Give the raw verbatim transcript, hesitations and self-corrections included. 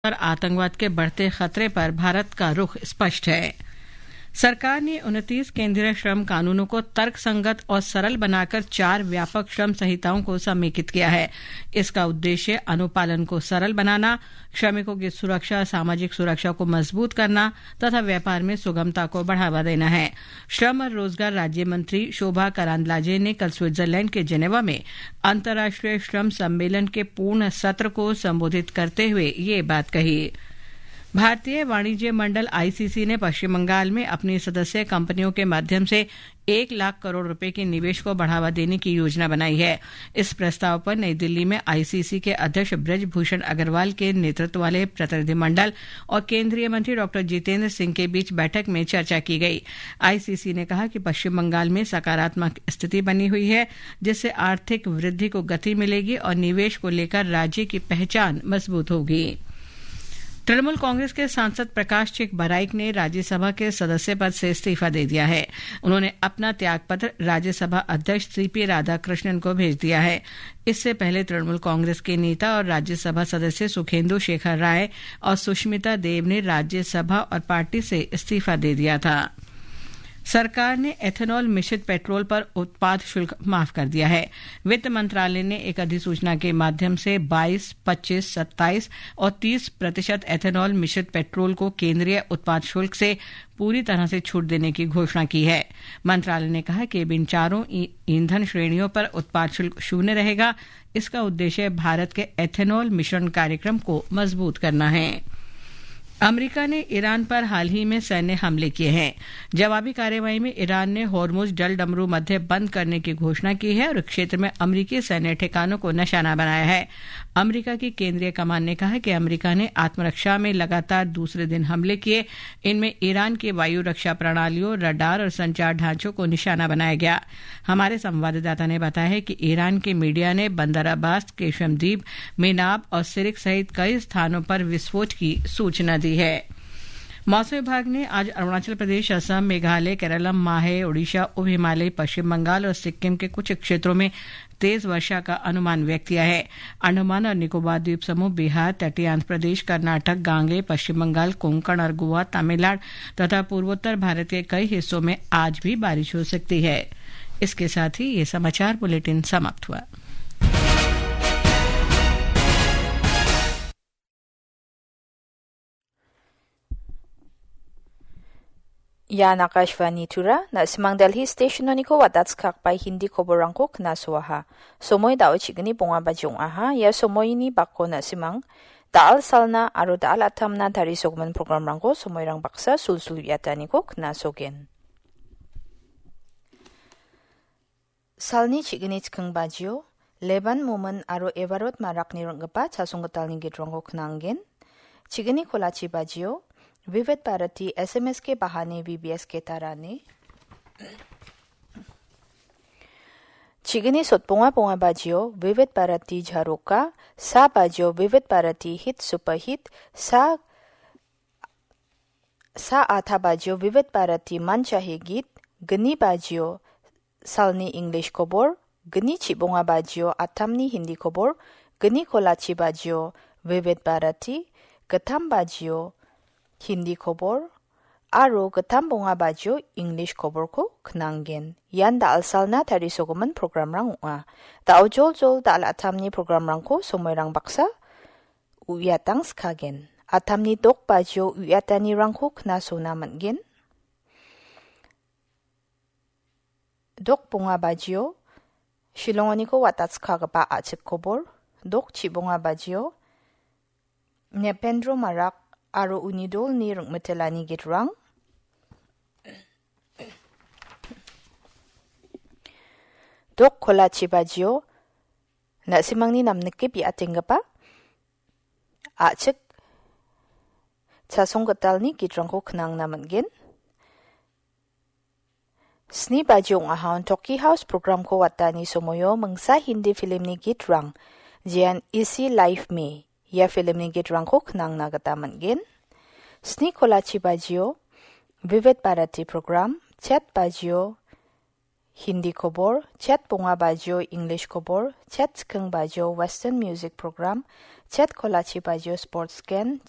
पर आतंकवाद के बढ़ते खतरे पर भारत का रुख स्पष्ट है। सरकार ने उनतीस केंद्रीय श्रम कानूनों को तर्कसंगत और सरल बनाकर चार व्यापक श्रम संहिताओं को समेकित किया है। इसका उद्देश्य अनुपालन को सरल बनाना, श्रमिकों की सुरक्षा, सामाजिक सुरक्षा को मजबूत करना तथा व्यापार में सुगमता को बढ़ावा देना है। श्रम और रोजगार राज्य मंत्री शोभा करांदलाजे ने कल स्विट्जरलैंड के जेनेवा में अंतर्राष्ट्रीय श्रम सम्मेलन के पूर्ण सत्र को संबोधित करते हुए ये बात कही। भारतीय वाणिज्य मंडल, आईसीसी, ने पश्चिम बंगाल में अपनी सदस्य कंपनियों के माध्यम से एक लाख करोड़ रुपए के निवेश को बढ़ावा देने की योजना बनाई है। इस प्रस्ताव पर नई दिल्ली में आईसीसी के अध्यक्ष ब्रजभूषण अग्रवाल के नेतृत्व वाले प्रतिनिधिमंडल और केंद्रीय मंत्री डॉक्टर जितेंद्र सिंह के बीच बैठक में चर्चा की गई। आईसीसी ने कहा कि पश्चिम बंगाल में सकारात्मक स्थिति बनी हुई है, जिससे आर्थिक वृद्धि को गति मिलेगी और निवेश को लेकर राज्य की पहचान मजबूत होगी। तृणमूल कांग्रेस के सांसद प्रकाश चिक बराइक ने राज्यसभा के सदस्य पद से इस्तीफा दे दिया है। उन्होंने अपना त्यागपत्र राज्यसभा अध्यक्ष सीपी राधाकृष्णन को भेज दिया है। इससे पहले तृणमूल कांग्रेस के नेता और राज्यसभा सदस्य सुखेंदु शेखर राय और सुष्मिता देव ने राज्यसभा और पार्टी से इस्तीफा दे दिया था। सरकार ने एथेनॉल मिश्रित पेट्रोल पर उत्पाद शुल्क माफ कर दिया है। वित्त मंत्रालय ने एक अधिसूचना के माध्यम से बाईस, पच्चीस, सत्ताईस और तीस प्रतिशत एथेनॉल मिश्रित पेट्रोल को केंद्रीय उत्पाद शुल्क से पूरी तरह से छूट देने की घोषणा की है। मंत्रालय ने कहा कि अब इन चारों ई-, ईंधन श्रेणियों पर उत्पाद शुल्क शून्य रहेगा। इसका उद्देश्य भारत के एथेनॉल मिश्रण कार्यक्रम को मजबूत करना है। अमेरिका ने ईरान पर हाल ही में सैन्य हमले किए हैं। जवाबी कार्रवाई में ईरान ने होर्मुज जलडमरू मध्य बंद करने की घोषणा की है और क्षेत्र में अमेरिकी सैन्य ठिकानों को निशाना बनाया है। अमेरिका की केंद्रीय कमान ने कहा कि अमेरिका ने आत्मरक्षा में लगातार दूसरे दिन हमले किए। इनमें ईरान की वायु रक्षा प्रणालियों, रडार और संचार ढांचों को निशाना बनाया गया। हमारे संवाददाता ने बताया है कि ईरान के मीडिया ने बंदर अब्बास, केशम द्वीप, मेनाब और सिरिक सहित कई स्थानों पर विस्फोट की सूचना दी है। मौसम विभाग ने आज अरुणाचल प्रदेश, असम, मेघालय, केरलम, माहे, ओडिशा, उप हिमालय, पश्चिम बंगाल और सिक्किम के कुछ क्षेत्रों में तेज वर्षा का अनुमान व्यक्त किया है। अंडमान और निकोबार द्वीप समूह, बिहार, तटीय आंध्र प्रदेश, कर्नाटक, गांगेय, पश्चिम बंगाल, कोंकण और गोवा, तमिलनाडु तथा पूर्वोत्तर भारत के कई हिस्सों में आज भी बारिश हो सकती है। इसके साथ ही ये समाचार बुलेटिन समाप्त हुआ। Ian Akashvani Tura, na·simang Delhi station-oniko watatskakbai Hindi koborrangko knasoaha. Somoi dao chigni bonga baji ong·aha. Ia somoini bako na·simang da·al salna aro da·al atamna tarisogimin programrangko somoirang baksa sulsul uiataniko knasogen. Salni chigni chikking bajio, Leban Momin aro Evarot Marakni ring·gipa chasong gitalni gitrangko knanggen. Chigni kolachi bajio, Vivid Bharati S M S K Bahani V B S K Tarani. Chigni sotbonga bonga bajio, Vivid Bharati Jharoka, sa bajio, Vivid Bharati Hit Super Hit, sa Sa atha bajio Vivid Bharati Manchahi Git, gni bajio salni English kobor, gni chibonga bajio atamni Hindi kobor, gni kolachi bajio Vivid Bharati, gittam bajio Hindi kobor, aro gittam bonga bajio English koborko knanggen. Ian da·al salna tarisogimin programrang ong·a. Da·o joljol da·al atamni programrangko somoirang baksa uiatang skagen. Atamni dok bajio uiatanirangko knasona man·gen. Dok bonga bajio Shillongoniko watatskagipa a·chik kobor. Dok chibonga bajio Nependro Marak aro uni dolni ring·mitelani gitrang. Dok kolachi bajio na·simangni namnike bi·atenggipa a·chik chasong gitalni gitrangko knangna man·gen. Sni baji ong·aha on Toki House programko watani somoio mingsa Hindi filmni gitrang, jean Isi Life Me, ia filmni gitrangko knangna gita man·gen. Sni kolachi bajio Vivid Bharati program, chet bajio Hindi kobor, chet bonga bajio English kobor, chet chiking bajio Western music program, chet kolachi bajio sports gen,